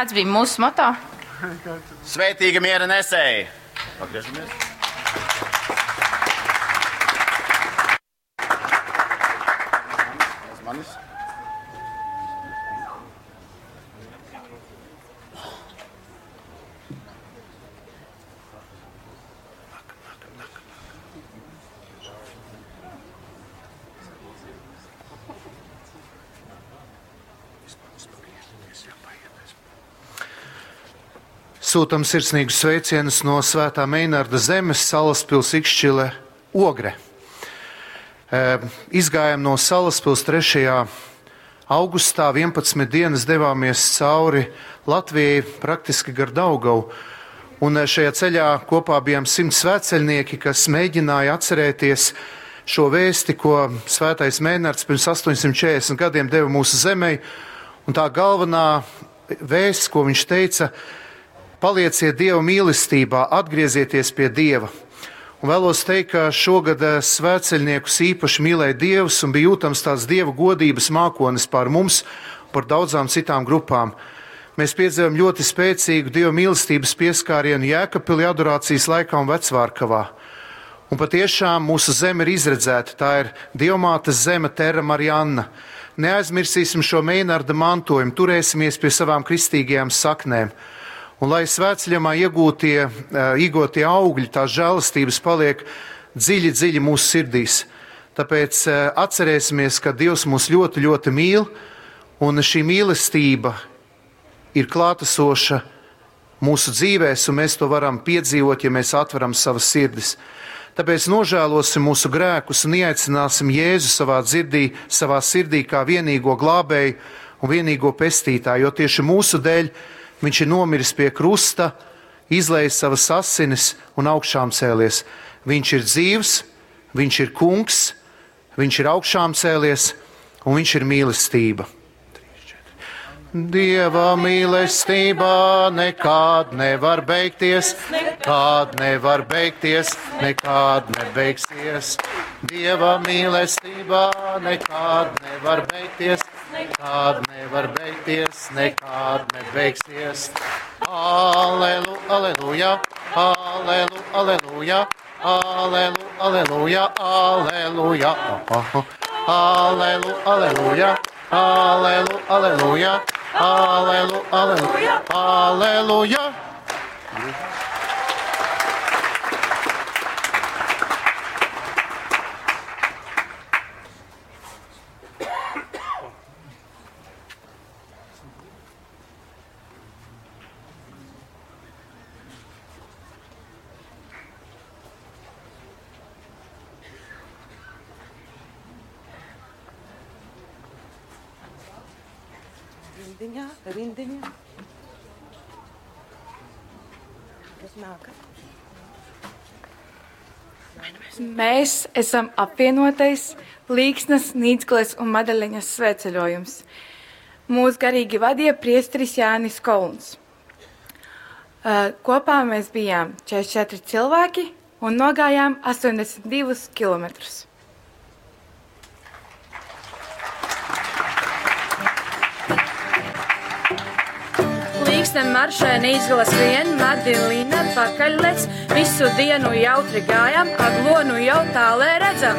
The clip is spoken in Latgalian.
Kāds bija mūsu moto? Svētīga miera nesēji! Pagriežamies! Aiz manis. Sūtam sirsnīgus sveicienus no Svētā Meinarda zemes Salaspils Ikšķile Ogre. Izgājām no Salaspils 3. augustā, 11 dienas devāmies cauri Latvijai, praktiski gar Daugavu. Un šajā ceļā kopā bijām 100 svētceļnieki, kas mēģināja atcerēties šo vēsti, ko Svētais Meinards pirms 840 gadiem deva mūsu zemei. Un tā galvenā vēsts, ko viņš teica, palieciet Dieva mīlestībā, atgriezieties pie Dieva. Un vēlos teikt, ka šogad svētceļniekus īpaši mīlēja Dievs un bija jūtams tāds Dieva godības mākonis pār mums, par daudzām citām grupām. Mēs piedzīvojam ļoti spēcīgu Dieva mīlestības pieskārienu Jēkabpilī adorācijas laikā un Vecvārkavā. Un patiešām mūsu zeme ir izredzēta, tā ir Dievmātes zeme Terra Marianna. Neaizmirsīsim šo Meinarda mantojumu, turēsimies pie savām kristīgajām saknēm. Un lai svētceļojumā iegūtie augļi, tās žēlastības paliek dziļi, dziļi mūsu sirdīs. Tāpēc atcerēsimies, ka Dievs mūs ļoti, ļoti mīl, un šī mīlestība ir klātesoša mūsu dzīvēs, un mēs to varam piedzīvot, ja mēs atveram savas sirdis. Tāpēc nožēlosim mūsu grēkus un ieaicināsim Jēzu savā sirdī kā vienīgo glābēju un vienīgo pestītāju, jo tieši mūsu dēļ viņš ir nomiris pie krusta, izlējis savas asinis un augšām cēlies. Viņš ir dzīvs, viņš ir kungs, viņš ir augšām cēlies un viņš ir mīlestība. Dieva mīlestībā nekad nevar beigties, nekad nevar beigties, nekad nebeigsies. Dieva mīlestībā nekad nevar beigties, nekad nevar beigties, nekad nebeigsies. Alelu, aleluja, alelu, aleluja, alelu, aleluja, aleluja. Alelu, aleluja, alelu, aleluja, alelu, aleluja, aleluja. Rindiņā, rindiņā. Kas nākat? Mēs esam apvienotais Līksnas, Nīcgales un Madaleņas svētceļojums. Mūs garīgi vadīja priesteris Jānis Kolns. Kopā mēs bijām 44 cilvēki un nogājām 82 kilometrus. Līksne maršē Nīcgala skrien, Madilina pakaļ lec, visu dienu jautri gājam, Aglonu jau tālē redzam.